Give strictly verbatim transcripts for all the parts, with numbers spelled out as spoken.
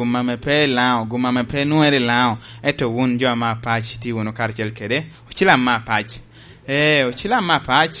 gum ame pe i Laŋo, gum ame pe nwoŋere i Laŋo, ento wun jo ame apac tye wunu karacel kede ocilam me apac. Ee, ocilam me apac,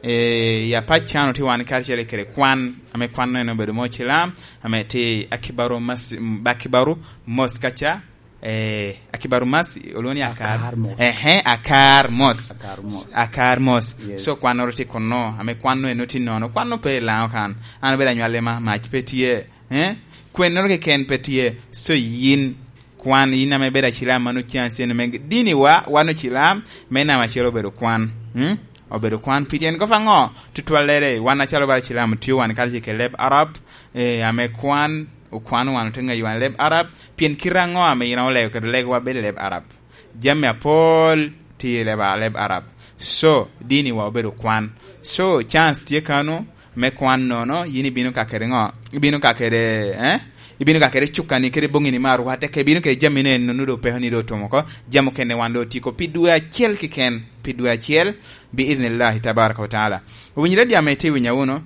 ee, i apac can otye wan karacel kede kwan, ame kwan-nu en obedo me ocilam, ame tye Akibaru Mas-, Akibaru Mos kaca, ee, Akibaru Mas, olwoŋo ni Akar. Akar Mos. Ehe, Akar Mos. Akar Mos. Akar Mos. Yes. So, kwannoro tye kunno, ame kwan-nu en otye nono, kwan-nu pe i Laŋo kan. An obedo anywale ma, mac pe tye. Eh? Kwennoro keken pe tye, so yin kwan, yin ame ibedo acilam man ocan cen me diniwa, wan ocilam, me namba acel obedo kwan. Hmm? Obedo kwan, pi tyen kop aŋo? Tutwallere, wan acalo bala cilam otio wan kadi ce ke leb Arab, eh, ame kwan, okwano wan, ote ŋeyo wan leb Arab, pien kite aŋo ame yin olego kede legowa bedo i leb Arab? Jami apol tye i leb, leb Arab. So, diniwa obedo kwan. So, chance tye kano, me kwan nono, yin ibino ka kede ŋo? Ibino ka kede, eh? Ibino ka kede cukani, kede boŋini me arwate, ke ibino kede jami ne, nono do peko ni do otum oko, jami okene wan do otiko pi dwe acel keken, pi dwe acel, bi idhnillahi tabaraka wa taala. Owinyere di ame iti winya wunu,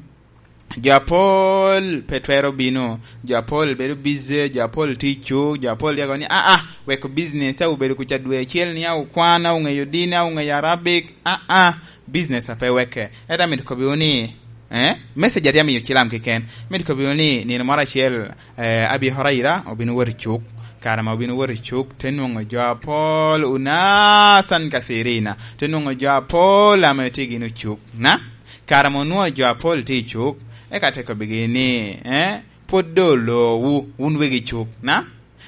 jo apol pe twero bino, jo apol bedo busy, jo apol tye i cuk, jo apol yako ni, "Ah, ah, weko business, a obedo kuca dwe acel ni, a okwan, a oŋeyo dini, a oŋeyo Arabic, ah, ah." Business a pe weke. Ento amito kobbiwu ni, eh, message atye amiyo cilam keken. Amito kobbiwu ni nino moro acel, eh, Abi Huraira obino wot i cuk. Kare ma obino wot i cuk, te nwoŋo jo apol, unasan kathirina. Te nwoŋo jo apol ame tye gin ocuk. Na? Kare ma onwoŋo jo apol tye i cuk, eka te kobbigi ni, eh, pwod doŋ olowu, wun wegi cuk. Na?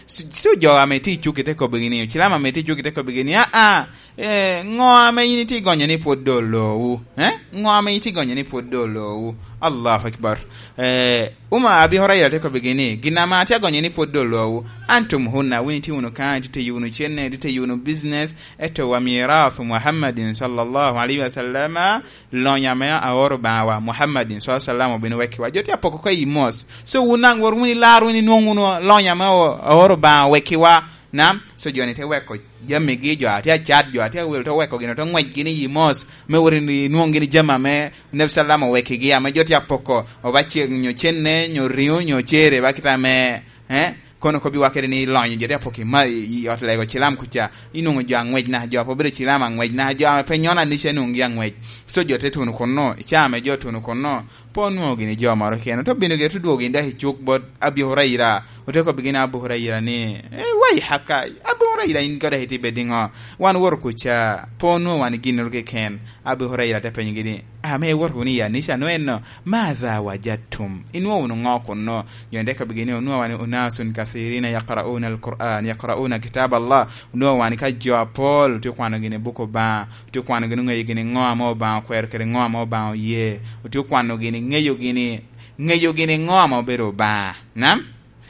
So, so jo ame tye i cuk ite kobbigi ni, ocilam ame tye i cuk ite kobbigi ni, "Ah, ah, eh, ŋo ame yin itye gonyo ni pwod doŋ olowu? Eh? Ŋo ame itye gonyo ni pwod doŋ olowu?" Allahu Akbar. Eh, Umar Abi Huraira te kobbigi ni, "Gin ame atye agonyo ni pwod doŋ olowu, antum hunna, wun itye wunu kan, itye tiyo wunu cenne, itye tiyo wunu business, eto wa mirath Muhammadin sallallahu alaihi wasallam, lonyo ame aoro Obaŋawa, Muhammadin, sallallahu alaihi wasallam, obino wekkiwa." Jo tye apoko ka i mos. So, wun daŋ wot wunu ilar wunu inwoŋ wunu lonyo ame o-, aoro Obaŋa wekkiwa. Nam, so jo-ni te weko jamigi, jo a tye acat, jo a tye awil, te weko gin, te ŋwec gini i mos, me wot inwoŋ gini jami ame Nabi sallam owekkigi, ame jo tye apoko, oba cek nyo cenne, nyo riŋo, nyo cere, ba kite ame, eh? Kono kobbiwa kede ni ilonyo jo te apoki ma i, i ot lego cilam kuca, inwoŋo jo aŋwec naka jo a pe obedo cilam aŋwec naka jo a pe nyono anica inwoŋogi aŋwec. So jo te tuno kunno, i caa ame jo otuno kunno, pe onwoŋo gini jo moro kene, te obino gire te dwogo gini dok i cuk bot Abi Huraira, ote kobbigi ni Abu Huraira ni, "Eh, wai haka, Abu Huraira in kono dok itye bed iŋo? Wan owoto kuca, pe onwoŋo wan ginnoro keken." Abu Huraira te penyogi ni, "Ame iwoto wunu i anica-nu enno, madha wajadtum? Inwoŋo wunu ŋo kunno?" Jo te kobbigi ni, "Onwoŋo wan unasun kathirina yaqra'una al-Qur'an, yaqra'una kitab Allah." Onwoŋo wan ka jo apol, otye kwano gini buk Obaŋa, otye kwano gini ŋeyo gini ŋo ame Obaŋa okwero kede ŋo ame Obaŋa oye, otye kwano gini ŋeyo gini, ŋeyo gini ŋo ame obedo Obaŋa. Nam?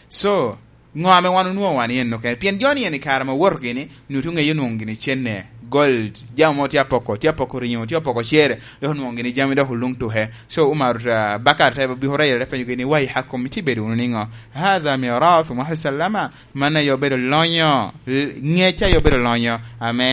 So, ŋo ame wan onwoŋo wan i enno kene? Pien jo-ni en i kare ma owoto gini, nwoŋo ŋeyo nwoŋo gini cenne, gold, jami mo tye apoko, tye apoko riŋo, tye apoko cere, dok onwoŋo gini jami dok oluŋ tuke. So, Umar, ah, Bakar te, Abi Huraira te penyo gini, "Wai hakum, itye bedo wunu niŋo? Hadha mirath Muhammad sallama, man aye obedo lonyo, l-, ŋec aye obedo lonyo, ame